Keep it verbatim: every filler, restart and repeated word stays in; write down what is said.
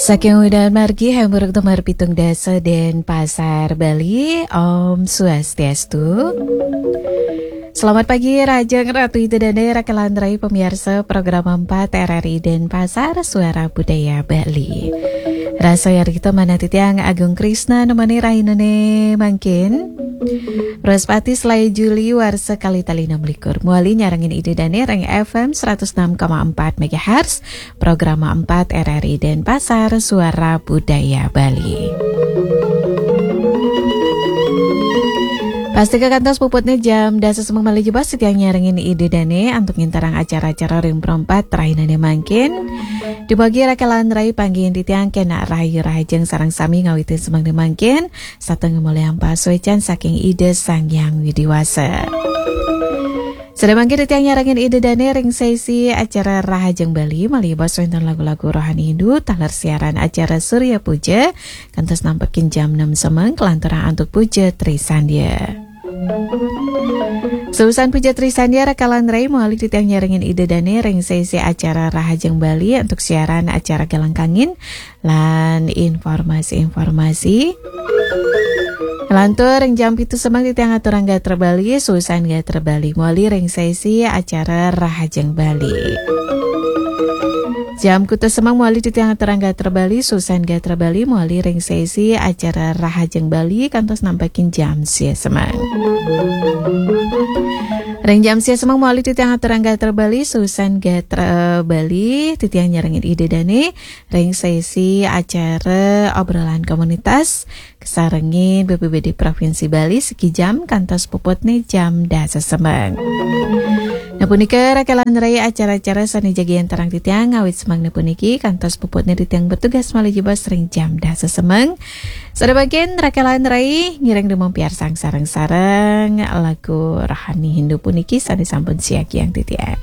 Saking udahan margi, hamburuk tumar pitung dasa dan pasar Bali, Om Swastiastu. Selamat pagi, Rahajeng Ratu Ida Dane, Raka lan Rai, pemirsa program empat R R I Denpasar, Suara Budaya Bali. Rasa yar kita manah titiang Agung Krisna nemani rahinane mangkin. Wrespati selae Juli warsa kali tali enam likur. Muali nyarengin Ida Dane ring F M seratus enam koma empat megahertz, program empat R R I Denpasar, Suara Budaya Bali. Pasti kekantos puputnya jam dasa semeng malih jebos titiang nyarengin Ida Dane antuk nginterang acara-acara ring perempat rahinane mangkin. Dumugi Raka lan Rai panggihin titiang kena rahayu rahajeng sareng sami ngawitin semeng mangkin, sateng mulihang pasuecan saking Ida Sang Hyang Widi Wasa. Sedemangkin titiang nyarengin Ida Dane ring sesi acara Rahajeng Bali, malih jebos wenten lagu-lagu rohani Hindu, taler siaran acara Surya Puja, kantos nampekin jam enam semeng, kelanturang antuk Puja Trisandya. Seusan Puja Trisandya, Raka lan Rai muali titiang nyarengin Ida Dane ring sesi acara Rahajeng Bali antuk siaran acara Galang Kangin, lan informasi-informasi. Lantur ring jam pitu semeng titiang aturang gatra Bali, seusan gatra Bali muali ring sesi acara Rahajeng Bali. Jam kutus semeng muali titiang aturang gatra Bali, seusan gatra Bali muali ring sesi acara Rahajeng Bali kantos nampekin jam sia semeng. Ring jam sia semeng muali titiang aturang gatra Bali, seusan gatra Bali titiang nyarengin Ida Dane ring sesi acara obrolan komunitas kasarengin B P B D Provinsi Bali siki jam kantos puputne jam dasa semeng. Nah, punika Raka lan Rai acara-acara sane jagi enterang titiang ngawit semeng puniki kantos puputne titiang bertugas malih jebos ring jam dasa semeng. Sedemangkin Raka lan Rai ngiring dumampiarsang sareng-sareng lagu rohani Hindu puniki sane sampun siagiang titiang.